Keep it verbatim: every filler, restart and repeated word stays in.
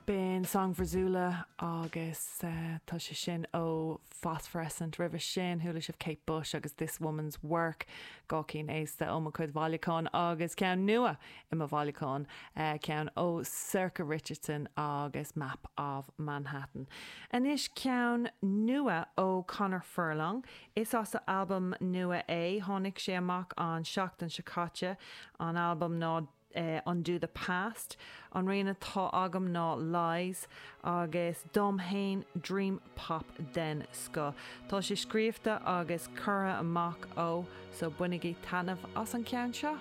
B'in Song for Zula agus uh, tá sé sin ó Phosphorescent roimhe sin chuala sibh Kate Bush agus This Woman's Work dhá cheann aosta ó mo chuid bhailiúchán agus ceann nua i mo bhailiúchán uh, ceann ó Sorcha Richardson agus Map of Manhattan. Anois ceann nua ó Conor Furlong is as a album nua é tháinig sé amach an seachtain seo caite an album ná uh, Undo the Past, an rian atá agam ná Lies agus dom féin Dream Pop den scoth. Tá sé scríofa agus curtha amach ó so bainigí taitneamh as an ceann seo.